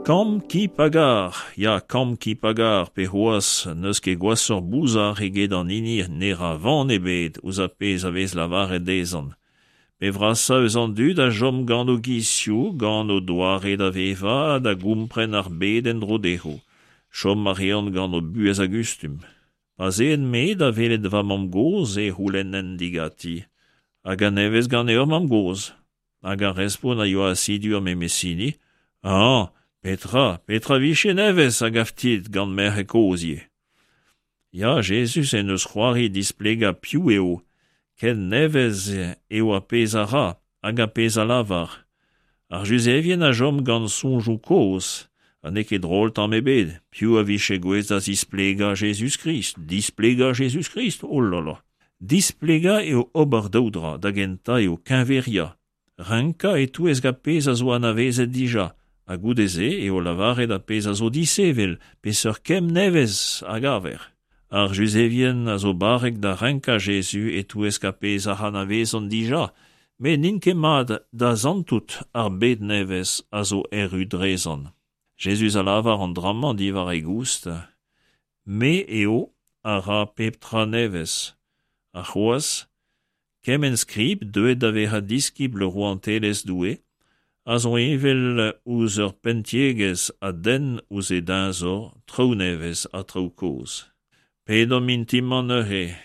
Kamm ki pa gar, ya kamm ki pa gar, pe c'hoazh n'eus ket gwashoc'h bouzar eget an hini ne ra van ebet ouzh ar pezh a vez lavaret dezhañ. Pe vrasañ eus an dud a chom gant o gizioù, gant o doare da vevañ ha da gompren ar bed en-dro dezho. Chom a reont gant o buhez a gustum. Pa'z een-me da welet va mamm-gozh e c'houlennen diganti Hag a-nevez ganeoc'h mamm-gozh ? Hag ar respont a yoa asidu ar memes hini Ah, petra, petra 'vije nevez, a gav dit, gant merc'hed kozh ivez. Ya, Jezuz en deus c'hoari displegañ piv eo, ken nevez eo ar pezh a ra hag ar pezh a lavar. Ar Juzevien a chom gant soñjoù kozh, ha n'eo ket drol tamm ebet, piv a vije gouest da zisplegañ Jezuz-Krist, displegañ Jezuz-Krist, oh là là. Displegañ eo ober daou dra, da gentañ eo keñveriañ, renkañ e-touesk ar pezh a zo anavezet dija, ha goude-se eo lavaret ar pezh a zo disheñvel, peseurt kemm nevez a gaver. Ar Juzevien a zo barrek da renkañ Jezuz e-touesk ar pezh ac'h anavezont dija, met n'int ket mat da santout ar bed nevez a zo erru drezon. Jezuz a lavar an dra-mañ diwar e goust, Me eo a ra pep tra nevez. Ha c'hoazh, kement skrib deuet da vezañ diskibl rouantelezh Doue a zo heñvel ouzh ur penntiegezh a denn ouzh e deñzor traoù nevez ha traoù kozh. Pedomp intimañ neuze.